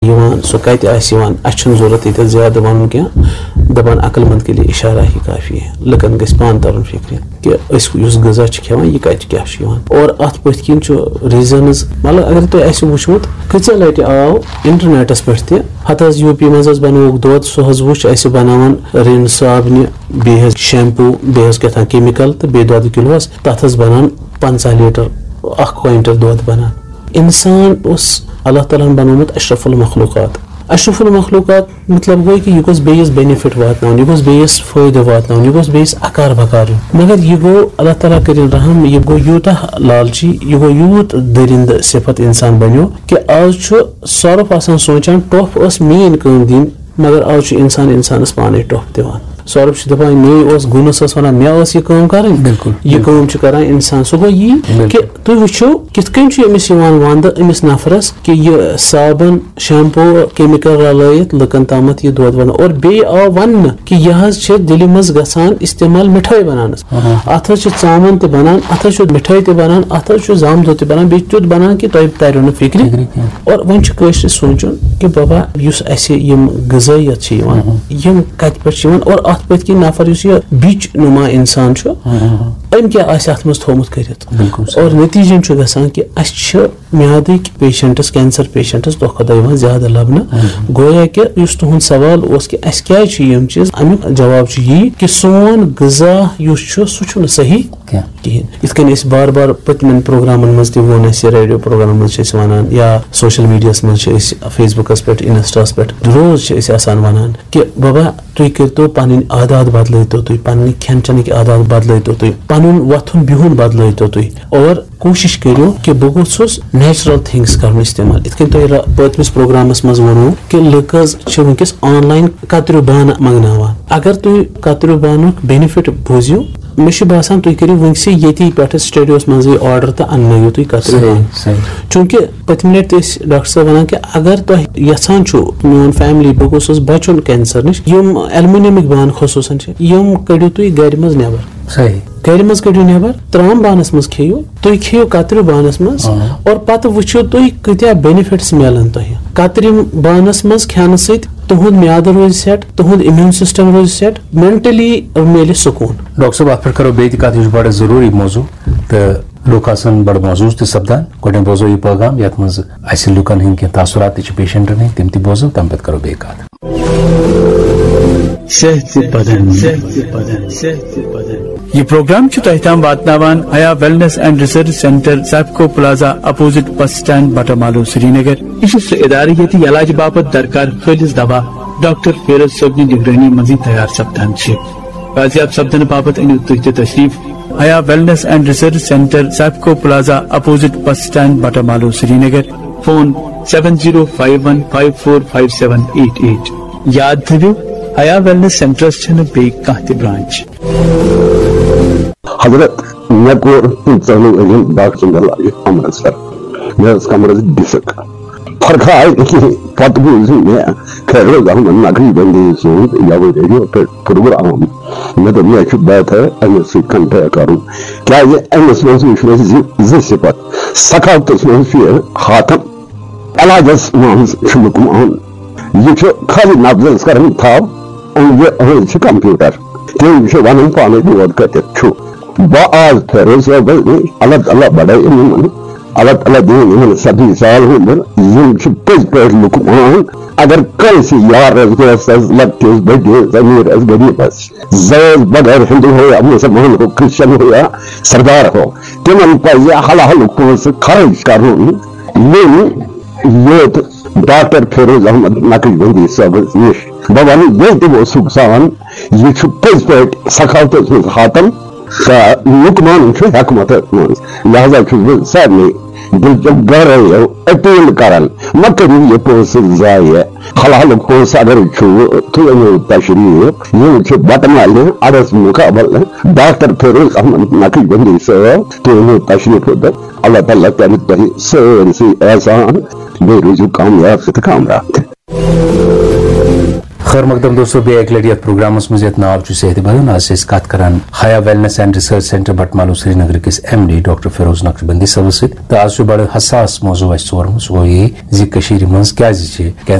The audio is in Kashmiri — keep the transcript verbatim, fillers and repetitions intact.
یِوان، سُہ کَتہِ آسہِ یِوان، اَسہِ چھُنہٕ ضوٚرَتھ ییٚتٮ۪تھ زیادٕ وَنُن کینٛہہ۔ دَپان عقل مند کے لیے اشارہ ہی کافی ہے، لُکَن گژھِ پانہٕ تَرُن فِکرِ کہِ أسۍ یُس غذا چھِ کھٮ۪وان، یہِ کَتہِ کیٛاہ چھُ یِوان۔ اور اَتھ پٔتھۍ کِنۍ چھُ reasons، مطلب اگر تۄہہِ آسہِ وٕچھمُت، کۭژاہ لَٹہِ آو اِنٹرنیٹَس پٮ۪ٹھ تہِ، ہَتہٕ حظ یوٗ پی منٛز حظ بَنووُکھ دۄد، سُہ حظ وٕچھ اَسہِ بَناوان رِن صابنہِ، بیٚیہِ حظ شیمپوٗ، بیٚیہِ حظ کیٛاہ تام chemical تہٕ بیٚیہِ دۄدٕ کِلوٗ حظ، تَتھ حظ بَنان پنٛژاہ لیٖٹر، اَکھ کویِنٹل دۄد بَنان۔ اِنسان اوس اللہ تعالیٰ ہَن بَنوومُت اشرف المخلوقات۔ اشرف المخلوقات مطلب گوٚو کہِ یہِ گوٚژھ بیٚیِس benefit واتناوُن، یہِ گوٚژھ بیٚیِس فٲیدٕ واتناوُن، یہِ گوٚژھ بیٚیِس اکار بکار یُن۔ مگر یہِ گوٚو، اللہ تعالیٰ کٔرِن رحم، یہِ گوٚو یوٗتاہ لالچی، یہِ گوٚو یوٗت دٔرِنٛدٕ صفت اِنسان بنیو کہِ آز چھُ سۄرُپھ آسان سونٛچان، ٹۄپھ ٲس میٛٲنۍ کٲم دِنۍ، مگر آز چھُ اِنسان اِنسانَس پانَے ٹۄپھ دِوان۔ سۄرُپھ چھُ دَپان، مے اوس گُنَس ٲس وَنان، مےٚ ٲس یہِ کٲم کَرٕنۍ۔ بِلکُل، یہِ بِلکُل۔ کٲم چھُ کَران اِنسان۔ سُہ گوٚو یی بِلکُل۔ کہِ تُہۍ وٕچھِو، کِتھ کٔنۍ چھُ أمِس یِوان وَنٛدٕ، أمِس نفرَس، کہِ یہِ صابَن، شیمپوٗ، chemical رَلٲیِتھ لُکَن تامَتھ یہِ دۄد وَنان۔ اور بیٚیہِ آو وَننہٕ کہِ یہِ حظ چھِ دِلہِ منٛز گژھان استعمال مِٹھٲے بَناونَس۔ آہا۔ اَتھ حظ چھِ ژامَن تہِ بَنان، اَتھ حظ چھُ مِٹھٲے تہِ بَنان، اَتھ حظ چھُ زامہٕ دۄد تہِ بَنان، بیٚیہِ چھُ تیُتھ بَنان کہِ تۄہہِ تَریو نہٕ فِکرِ۔ فِکرِ کینٛہہ۔ اور وۄنۍ چھُ کٲشرِس سونٛچُن کہِ بابا، یُس اَسہِ یِم غذٲیت چھِ یِوان، اہم۔ یِم کَتہِ پٮ۪ٹھ چھِ یِوان اور اَتھ پٔتۍ کِنۍ نفر یُس یہِ بِچ نُما اِنسان چھُ، اہم۔ أمۍ کیٛاہ آسہِ اَتھ منٛز تھوٚومُت کٔرِتھ؟ بِلکُل صحیح۔ اور نتیٖجَن چھُ گژھان کہِ اَسہِ چھِ میادٕکۍ patients، cancer patients دۄہ کھۄتہٕ دۄہ یِوان زیادٕ لَبنہٕ۔ اہم۔ گویا کہِ یُس تُہُنٛد سوال اوس کہِ اَسہِ کیٛازِ چھِ یِم چیٖز، اَمیُک جواب چھُ یی کہِ سون غذا یُس چھُ، سُہ چھُنہٕ صحیح کینٛہہ۔ کِہیٖنۍ۔ یِتھ کٔنۍ أسۍ بار بار پٔتمٮ۪ن پروگرامن منٛز تہِ ووٚن اَسہِ، ریڈیو پروگرامن منٛز چھِ أسۍ وَنان یا social media ہَس منٛز چھِ أسۍ، Facebook ہَس پٮ۪ٹھ، Insta ہَس پٮ۪ٹھ روز چھِ أسۍ آسان وَنان کہِ بابا، تُہۍ کٔرۍتو پَنٕنۍ عادات بدلٲیتو تُہۍ، پَنٕنۍ کھٮ۪ن چٮ۪نٕکۍ عادات بدلٲیتو تُہۍ، پَنُن وۄتھُن بِہُن بدلٲیتو تُہۍ، اور کوٗشِش کٔرِو کہِ بہٕ گوٚژھُس natural things کَرُن استعمال۔ یِتھ کٔنۍ تۄہہِ را-، پٔتمِس پروگرامَس منٛز ووٚنوُ کہِ لُکھ حظ چھِ وٕنکیٚس online کتریو بانہٕ منٛگناوان۔ اگر تُہۍ کتریو بانُک benefit بوٗزِو، مےٚ چھُ باسان تُہۍ کٔرِو وٕنکسٕے ییٚتی پٮ۪ٹھٕ studioس منٛزٕے order تہٕ اننٲیِو تُہۍ کتریو صحیح، بانہٕ۔ صحیح۔ چوٗنٛکہِ پٔتمہِ لٹہِ تہِ ٲسۍ ڈاکٹر صٲب ونان کہِ اگر تۄہہِ یژھان چھُو میون family، بہٕ گوٚژھُس بچُن cancer نِش، یِم aluminiumٕکۍ بانہٕ خصوٗصن چھِ، یِم کٔڑِو تُہۍ گرِ منٛز نٮ۪بر۔ صحیح۔ گرِ منٛز کٔڑِو نٮ۪بر، ترام بانس منٛز کھیٚیِو، تُہۍ کھیٚیِو کتریو بانس منٛز، آ۔ اور پتہٕ وٕچھِو تُہۍ کۭتیاہ benefits میلن تۄہہِ۔ کترِ بانس منٛز کھٮ۪نہٕ سۭتۍ تُہُنٛد میادٕ روزِ set، تُہُنٛد immune system روزِ set، mentally میلہِ سکوٗن۔ ڈاکٹر صٲب، اتھ پٮ۪ٹھ کرو بیٚیہِ تہِ کتھ، یہِ چھُ بڑٕ ضروٗری موضوع، تہٕ لُکھ آسن بڑٕ محظوظ تہِ سپدان۔ گۄڈٕنٮ۪تھ بوزو یہِ پیغام، یتھ منٛز اسہِ لُکن ہٕنٛدۍ کینٛہہ تاثرات تہِ چھِ، patientن ہٕنٛدۍ، تِم تہِ بوزو، تمہِ پتہٕ کرو بیٚیہِ کتھ۔ صحت بدن، صحت بدن، صحت بدن۔ یہ پروگرام چھُ تۄہہِ تام واتناوان حیا Wellness and Research Centre، سیفکو plaza, opposite bus stand، Batamaloo, Srinagar. یہِ چھُ سُہ ادارٕ ییٚتہِ علاج باپتھ درکار خٲلص دوا ڈاکٹر فیروز صٲبنہِ نگرٲنی منٛزٕے تیار سپدان چھِ۔ بازیاب سپدنہٕ باپتھ أنِو تُہۍ تہِ تشریف حیا Wellness and Research Centre، سیفکو plaza, opposite bus stand، Batamaloo, Srinagar. Phone seven zero five one five four five seven eight eight۔ یاد تھٲوِو، حیا Wellness Centreس چھنہٕ بیٚیہِ کانٛہہ تہِ branch۔ حضرت، مےٚ کوٚر پٕنٛژٕہن ؤرین ڈاکٹر سُنٛد علاج عمرس سر۔ مےٚ ٲس کمرس ڈسک۔ فرق آیہِ نہٕ کِہیٖنۍ۔ پتہٕ بوٗز مےٚ فیروز احمد نقوی بندی سُنٛد یَوٕ ریڈیو پٮ۪ٹھ پروگرام۔ مےٚ دوٚپ، مےٚ چھُ بہتر أمِس سۭتۍ contact کرُن۔ کیٛازِ أمِس منٛز وٕچھ مےٚ زِ-، زٕ صفت۔ سخاوتس منٛز چھُ یہِ حاتم، علاجس منٛز چھُ لقمان۔ یہِ چھُ خٲلی نبضس کران تھپھ، أنٛدرٕ أنٛدرٕ چھُ computer۔ تِم چھِ ونان پانے دود کتٮ۪تھ چھُ۔ بہٕ آز فیروز صٲبس نِش، اللہ تعالیٰ بڑٲیِن یِمن، اللہ تعالیٰ دِیِن یِمن صدی سال عمر۔ یِم چھِ پٔزۍ پٲٹھۍ لقمان۔ اگر کٲنٛسہِ یارس، دوستس، لۄکٹِس، بٔڑِس، أمیٖرس، غریٖبس، زٲژ بغٲر ہندو ہو یا مسلمان ہو، کرسچن ہو یا سردار ہو، تِمن پزِ حلالُک پونٛسہٕ خرٕچ کرُن۔ یِم یوت ڈاکٹر فیروز احمد نقشبندی صٲبس نِش۔ بہٕ ونہٕ، ییٚلہِ تہِ اوسُکھ زان، یہِ چھُ پٔزۍ پٲٹھۍ سخاوتس منٛز حاتم تہٕ لقمانن چھُ حکمتس منٛز۔ لہذا چھُس بہٕ سارنٕے دِلچو گہرٲیو اپیل کران، مہ کٔرِو یہِ پونٛسہٕ ضایع۔ حلالُک پونٛسہٕ اگر چھُ، تُہۍ أنِو تشریٖف۔ یِم چھِ بٹہٕ مالہِ اَڈَس مُقابلہٕ ڈاکٹر فیروز احمد نقشبندی صٲب۔ تُہۍ أنِو تشریٖف اوٚتَتھ۔ اللہ تعالیٰ کَرِ تۄہہِ سٲرسٕے احسان۔ بیٚیہِ روٗزِو کامیاب تہٕ کامران۔ خیر مقدم دوستو، بیٚیہِ اَکہِ لَٹہِ یَتھ پروگرامَس منٛز یَتھ ناو چھُ صحت بدن۔ آز چھِ أسۍ کَتھ کران Haya wellness and research centre Batmaloo سرینگرٕ کِس M D doctor Feroz Naqshbandi صٲبَس سۭتۍ، تہٕ آز چھُ بڑٕ حساس موضوع اَسہِ ژورمُت، سُہ گوٚو یہِ زِ کٔشیٖرِ منٛز کیازِ چھِ